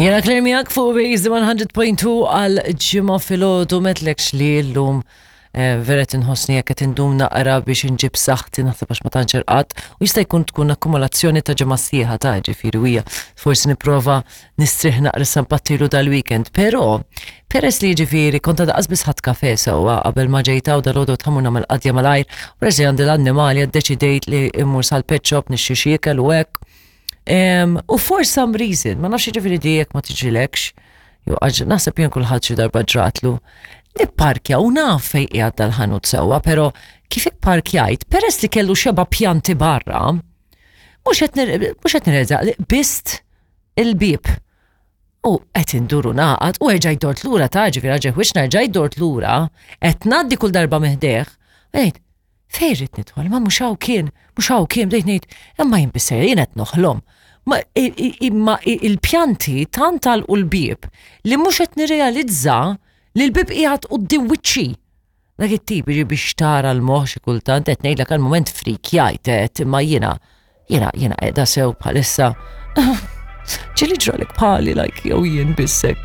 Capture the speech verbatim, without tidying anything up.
Jiena Claire miegħek fuq Base one hundred point two għal Ġimgħa filgħodu. M'għedtlekx li llum eh, vera tinħossni jekk qed indum naqra biex inġib saħħti, naħseb għax ma tantx irqadt u jista' jkun tkun akkumulazzjoni ta' ġimgħa sħiħa ta' ġifieri hija forsi nipprova nistrieħ naqra sampattilu dal-weekend, però peress li ġifieri kont għada biss ħadt kafe sewwa qabel ma ġejta u dal-għodu tħamur nagħmel qadja malajr, u peress li għandi l-annimali ddeċidejt li immur sal-pet shop nixtri xi ikel u hekk. Em, U for some reason, ma nafx ġifieri di jekk ma tiġrilekx, jew għax naħseb jien kulħadd xi darba ġratlu, nipparkja u naf fejn qiegħed dal-ħanut sewwa, però kif ipparkjajt, peress li kellu xeba pjanti barra, mhux qed nir- mhux qed nirrealizza li qbiżt il-bieb. U qed induru naqat u erġajt dort lura ta' ġifieri ġeħ wiex nerġajt dort lura, qed ngħaddi kull darba meħdeħ, ngħid, fejn rrid nidħol, ma mhux hawn kien, mhux hawn kien, bdejt ngħid, imma jien bisser jien qed noħlom. Ma i- i- imma i- il-pjanti tant għalqu l-bieb li mhux qed nirrealizza li l-bieb qiegħed quddiem wiċċi. Dak it-tip jiġi biex tara l-moħħ xi kultant, qed ngħidlek għal-moment frikjajt qed imma jiena jiena jiena qiegħda sew bħalissa. Ġieli ġralek bħali, like, jew jien bissek.